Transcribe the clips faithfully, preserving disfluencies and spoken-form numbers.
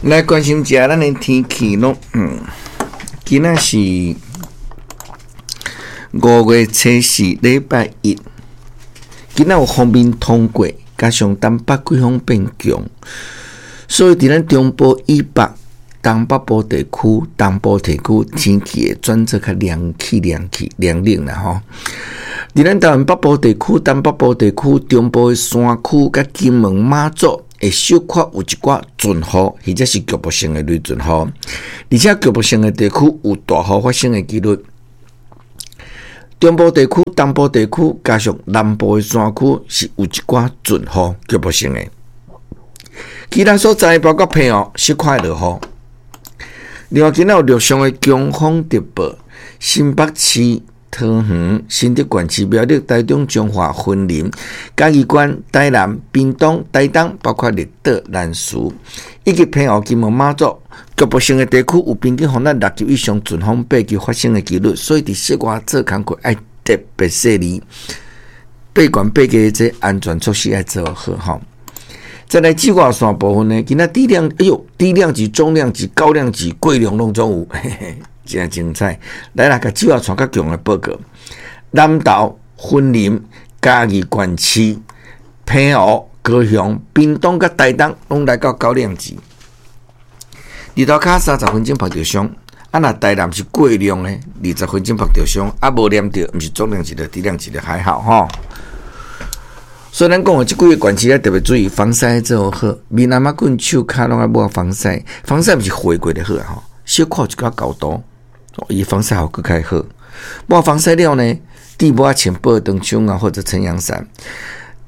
來關心一下咱的天氣囉，嗯，今仔是五月初四，禮拜一。今仔有鋒面通過，加上東北季風變強，所以佇咱中部以北、東北部地區、東部地區天氣會轉做較涼氣、涼氣、涼冷啦吼。佇咱台灣北部地區、東北部地區、中部的山區佮金門、馬祖，會小可有一寡陣雨，或者是局部性的雷陣雨，而且局部性的地區有大雨發生的幾率。中部地區、東部地區加上南部的山區是有一寡陣雨，局部性的。其他所在包括澎湖，小可會落雨。另外，今仔有陸上的強風特報，新北市、桃園、新竹縣市、苗栗、台中、彰化、雲林、嘉義縣、台南、屏東、台東，包括綠島、南勢，以及澎湖、金門、馬祖，局部性的地區有平均風力六級以上陣風八級發生的幾率，所以佇室外做工課愛特別細膩，爬懸爬低這安全措施愛做好吼。再來紫外線部分呢，今仔低量，哎喲，低量級、中量級、高量級、過量攏總有，嘿嘿，真精彩。來啦，共紫外線較強的報告，南投、雲林、嘉義縣市、澎湖、高雄、屏東佮台東，攏來到高量級。日頭跤三十分鐘曝著傷，啊若台南是過量的，二十分鐘曝著傷，啊無黏著，毋是中量級的，低量級的還好吼。所以咱講的這幾個縣市要特別注意防曬做好，面頷仔骨、手跤攏愛抹防曬，防曬毋是畫過就好吼，小可一寡厚度，伊防曬效果較好。抹防曬了呢，戴帽仔穿保長槍啊，或者撐陽傘。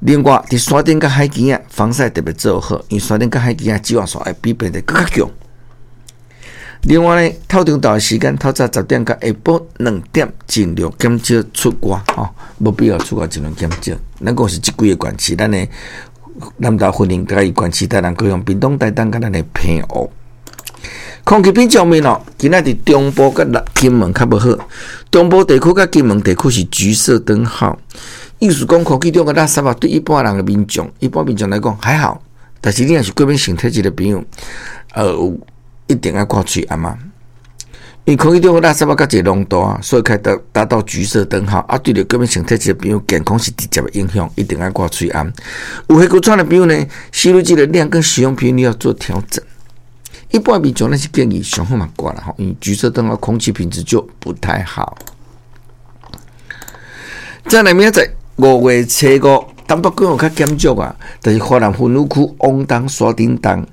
另外，佇山頂佮海墘仔，防曬特別做好，因為山頂佮海墘仔紫外線會比平地閣較強。另外呢，透中晝的時間，透早十點到下晡兩點，盡量減少出外吼，無必要出外盡量減少。咱講是這幾個縣市，咱的南投、雲林、嘉義縣市、台南、高雄、屏東、台東佮咱的澎湖。空氣品質方面哦，今仔佇中部佮金門較無好，中部地區佮金門地區是橘色燈號，意思講空氣中的垃圾啊，對一般人的民眾，一般民眾來講還好，但是你若是過敏性體質的朋友，呃，有一定愛掛喙罨啊，因為空氣中的垃圾啊，較濟濃度啊，所以開達達到橘色燈號啊，對著過敏性體質的朋友，健康是直接的影響，一定愛掛喙罨。有氣喘的朋友呢，吸入劑的量跟使用頻率要做調整。一般民眾咱是建議上好嘛掛啦吼，因為橘色燈號空氣品質就不太好。再來明仔載五月初五，東北季風較減弱啊，但是華南分雨區往東山頂東，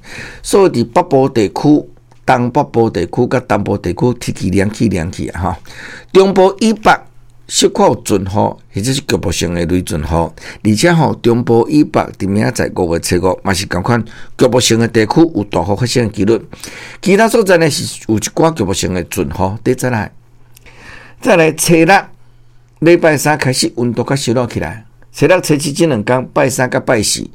所以佇北部地區、東北部地區佮東部地區天氣涼氣涼氣啊吼。中部以北小可有陣雨，或者是局部性的雷陣雨，而且吼中部以北佇明仔載五月初五嘛是仝款局部性的地區有大雨發生的幾率，其他所在呢是有一寡局部性的陣雨。佇再來，再來初六禮拜三開始溫度較燒熱起來，初六、初七這兩工拜三佮拜四，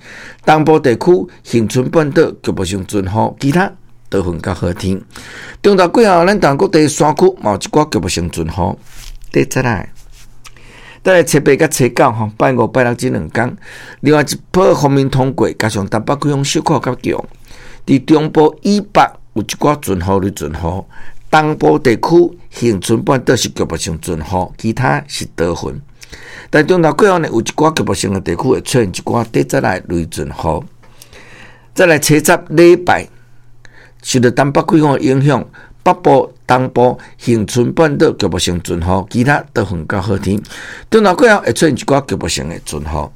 東部地區恆春半島局部性陣雨，其他多雲較好天。中晝過後，咱台灣各地山區嘛有一寡局部性陣雨。佇再來。再來初八佮初九吼，拜五、拜六這兩工，另外一波鋒面通過，加上東北季風小可較強，佇中部以北有一寡陣雨、雷陣雨，東部地區恆春半島是局部性陣雨，其他是多雲。但中晝過後呢，有一寡局部性的地區會出現一寡短暫的雷陣雨。再來初十禮拜，受著東北季風的影響，北部、東部、恆春半島局部性陣雨，其他多雲較好天。中晝過後會出現一寡局部性的陣雨。